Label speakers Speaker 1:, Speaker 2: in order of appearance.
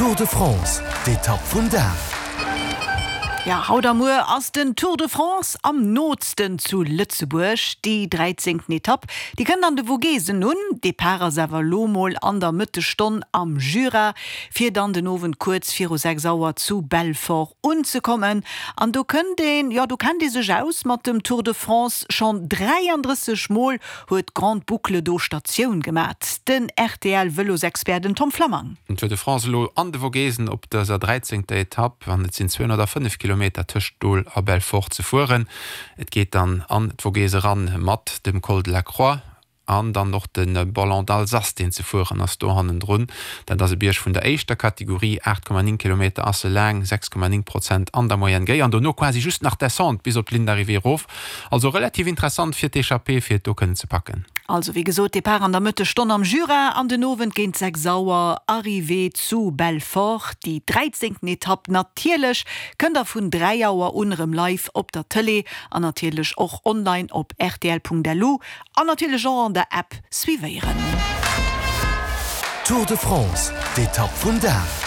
Speaker 1: Tour de France, d'Etapp vum Dag.
Speaker 2: Jo, haut a muer ass den Tour de France am nootsten zu Lëtzebuerg. Déi dräizéngten Etapp, déi kënnt an de Vogesen un. Depart ass awer elo mol an der Mëttesstonn am Jura, fir dann den Owend kuerz viru 6 Auer zu Belfort unzekommen. An do kënnt een, jo do kennt ee sech aus mat dem Tour de France. Schonn 33 Mol huet d'Grande Boucle do Statioun gemat, den RTL-Vëlosexpert den Tom Flammang.
Speaker 3: Den Tour de France elo an de Vogesen op dëser dräizéngter Etapp an et sinn 205 Kilometer tëscht Dol a Belfort ze fueren. Et geet dann an d'Vogese eran mat dem Col de la Croix an dann och de Ballon d'Alsace deen ze fueren ass do hannendrun. Dat ass e Bierg vun der éischter Kategorie, 8,9 Kilometer ass e laang, 6,9 Prozent an der Moyenne géi an dono quasi just nach Descente bis op d'Ligne d'arrivée erof. Also relativ interessant fir d'Echappée fir et do kënnen ze packen.
Speaker 2: Also wéi gesot, Depart an der Mëttesstonn am Jura an den Owend géint 6 Auer Arrivée zu Belfort. Déi dräizéngten Etapp natierlech kënnt der vun 3 Auer un erëm live op der Tëlee an natierlech och online op rtl.lu an natierlech och an der App suivéieren.
Speaker 1: Tour de France, d'Etapp vum Dag.